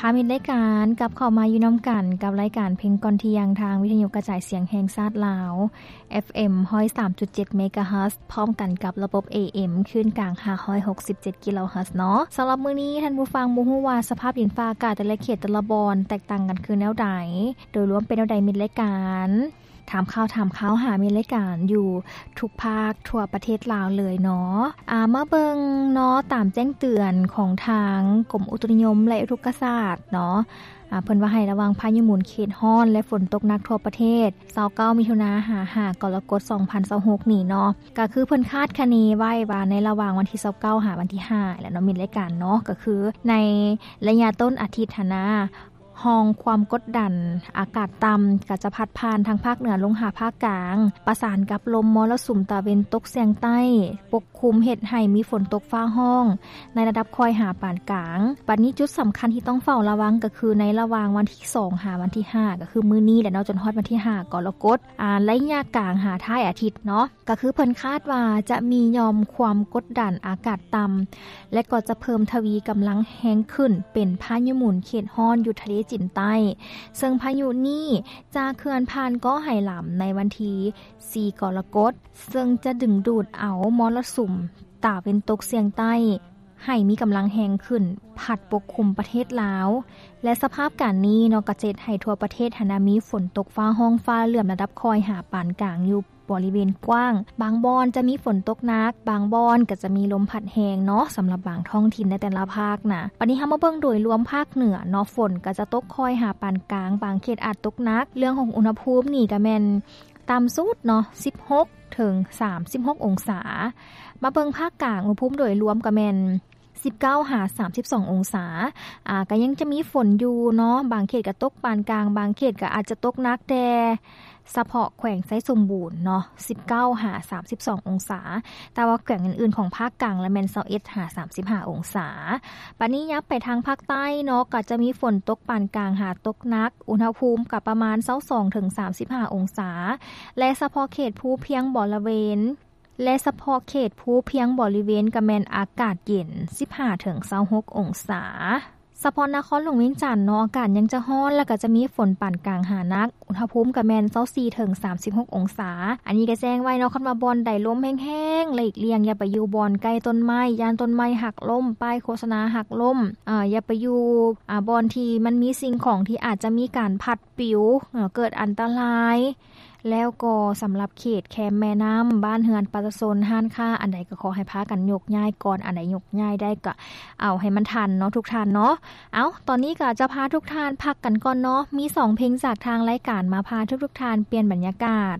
ພາມິດລາຍການກັບເຂົ້າມາຢູ່ນຳກັນກັບລາຍການເພງກ່ອນທ່ຽງ ທາງວິທະຍຸກະຈາຍສຽງແຫ່ງຊາດລາວ ເອັຟເອັມ ຮ້ອຍສາມຈຸດເຈັດ ເມກາເຮີດ ພ້ອມກັນກັບລະບົບ ເອເອັມ ຄື້ນກາງ ຫ້າຮ້ອຍຫົກສິບເຈັດ ກິໂລເຮີດເນາະ. ສຳລັບມື້ນີ້ທ່ານຜູ້ຟັງບໍ່ຮູ້ວ່າສະພາບດິນຟ້າອາກາດແຕ່ລະເຂດແຕ່ລະບ່ອນແຕກຕ່າງກັນຄືແນວໃດ, ໂດຍລວມເປັນແນວໃດ? ມິດລາຍການ ຖາມຂ່າວ ຖາມຂ່າວ ຫາມິດລາຍການຢູ່ທຸກພາກທົ່ວປະເທດລາວເລີຍເນາະ. ອາ ມາເບິ່ງເນາະ ຕາມແຈ້ງເຕືອນຂອງທາງກົມອຸຕຸນິຍົມ ແລະ ອຸທົກກະສາດເນາະ, ອາ ເພິ່ນວ່າໃຫ້ລະວັງພາຍຸໝູນເຂດຮ້ອນ ແລະ ຝົນຕົກໜັກທົ່ວປະເທດ ຊາວເກົ້າ ມິຖຸນາ ຫາ ຫ້າ ກໍລະກົດ ສອງພັນຊາວຫົກນີ້ເນາະ. ກະຄືເພິ່ນຄາດຄະເນໄວ້ວ່າໃນລະຫວ່າງວັນທີຊາວເກົ້າ ຫາວັນທີຫ້າແຫຼະເນາະ ມິດລາຍການເນາະ, ກະຄືໃນໄລຍະຕົ້ນອາທິດຫັ້ນນະ ຮ່ອງຄວາມກົດດັນອາກາດຕ່ຳກໍຈະພັດຜ່ານທາງພາກເໜືອລົງຫາພາກກາງ, ປະສານກັບລົມມໍລະສຸມຕາເວັນຕົກສ່ຽງໃຕ້ປົກຄຸມ ເຮັດໃຫ້ມີຝົນຕົກຟ້າຮ້ອງໃນລະດັບຄ່ອຍຫາປານກາງ. ບັດນີ້ຈຸດສຳຄັນທີ່ຕ້ອງເຝົ້າລະວັງກໍຄືໃນລະຫວ່າງວັນທີສອງຫາວັນທີຫ້າ ກໍຄືມື້ນີ້ແຫຼະເນາະ ຈົນຮອດວັນທີຫ້າກໍລະກົດ, ອາ ໄລຍະກາງຫາທ້າຍອາທິດເນາະ. ກໍຄືເພິ່ນຄາດວ່າຈະມີຫຍ່ອມຄວາມກົດດັນອາກາດຕ່ຳ ແລະ ກໍຈະເພີ່ມທະວີກຳລັງແຮງຂຶ້ນເປັນພາຍຸໝູນເຂດຮ້ອນຢູ່ທະເລຈີນໃຕ້, ເຊິ່ງພາຍຸນີ້ຈະເຄື່ອນຜ່ານເກາະໄຫຫຼຳໃນວັນທີສີ່ກໍລະກົດ, ເຊິ່ງຈະດຶງດູດເອົາມໍລະສຸມຕາເວັນຕົກສ່ຽງໃຕ້ໃຫ້ມີກຳລັງແຮງຂຶ້ນ ພັດປົກຄຸມປະເທດລາວ ແລະ ສະພາບການນີ້ເນາະ ກໍຈະເຮັດໃຫ້ທົ່ວປະເທດຫັ້ນນະ ມີຝົນຕົກຟ້າຮ້ອງຟ້າເຫຼື້ອມລະດັບຄ່ອຍຫາປານກາງຢູ່ ບໍລິເວນກວ້າງ, ບາງບ່ອນຈະມີຝົນຕົກໜັກ, ບາງບ່ອນກໍຈະມີລົມພັດແຮງເນາະ ສຳລັບບາງທ້ອງຖິ່ນໃນແຕ່ລະພາກນະ. ບັດນີ້ເຮົາມາເບິ່ງໂດຍລວມພາກເໜືອເນາະ, ຝົນກໍຈະຕົກຄ່ອຍຫາປານກາງ, ບາງເຂດອາດຕົກໜັກ. ເລື່ອງຂອງອຸນຫະພູມນີ້ກໍແມ່ນຕ່ຳສຸດເນາະ ສິບຫົກເຖິງສາມສິບຫົກອົງສາ. ມາເບິ່ງພາກກາງ, ອຸນຫະພູມໂດຍລວມກໍແມ່ນ ສິບເກົ້າຫາສາມສິບສອງອົງສາ. ອາ ກໍຍັງຈະມີຝົນຢູ່ເນາະ, ບາງເຂດກໍຕົກປານກາງ, ບາງເຂດກໍອາດຈະຕົກໜັກ, ແຕ່ສະເພາະແຂວງໄຊສົມບູນເນາະ ສິບເກົ້າຫາສາມສິບສອງອົງສາ, ແຕ່ວ່າແຂວງອື່ນໆຂອງພາກກາງລະແມ່ນຊາວເອັດຫາສາມສິບຫ້າອົງສາ. ບັດນີ້ຍັບໄປທາງພາກໃຕ້ເນາະ, ກໍຈະມີຝົນຕົກປານກາງຫາຕົກໜັກ, ອຸນຫະພູມກໍປະມານຊາວສອງເຖິງສາມສິບຫ້າອົງສາ ແລະ ສະເພາະເຂດພູພຽງບໍລະເວນ ແລະ ສະເພາະເຂດພູພຽງບໍລິເວນກໍແມ່ນອາກາດເຢັນ ສິບຫ້າເຖິງຊາວຫົກອົງສາ. ສະເພາະນະຄອນຫຼວງວຽງຈັນເນາະ ອາກາດຍັງຈະຮ້ອນ ແລ້ວກໍຈະມີຝົນປານກາງຫາໜັກ, ອຸນຫະພູມກໍແມ່ນຊາວສີ່ເຖິງສາມສິບຫົກອົງສາ. ອັນນີ້ກໍແຈ້ງໄວ້ເນາະ, ຄັນວ່າບ່ອນໃດລົມແຮງໆ ຫຼີກລ່ຽງຢ່າໄປຢູ່ບ່ອນໃກ້ຕົ້ນໄມ້, ຢ້ານຕົ້ນໄມ້ຫັກລົ້ມ, ປ້າຍໂຄສະນາຫັກລົ້ມ, ເອີ ຢ່າໄປຢູ່ ອາ ບ່ອນທີ່ມັນມີສິ່ງຂອງທີ່ອາດຈະມີການພັດປິວ, ເອີ ເກີດອັນຕະລາຍ. ແລ້ວກໍສຳລັບເຂດແຄມແມ່ນ້ຳ, ບ້ານເຮືອນປະຊາຊົນ, ຮ້ານຄ້າ, ອັນໃດກໍຂໍໃຫ້ພາກັນຍົກຍ້າຍກ່ອນ, ອັນໃດຍົກຍ້າຍໄດ້ກໍເອົາໃຫ້ມັນທັນເນາະ ທຸກທ່ານເນາະ. ເອົ້າ, ຕອນນີ້ກໍຈະພາທຸກທ່ານພັກກັນກ່ອນເນາະ, ມີສອງເພງຈາກທາງລາຍການມາພາທຸກໆທ່ານປ່ຽນບັນຍາກາດ.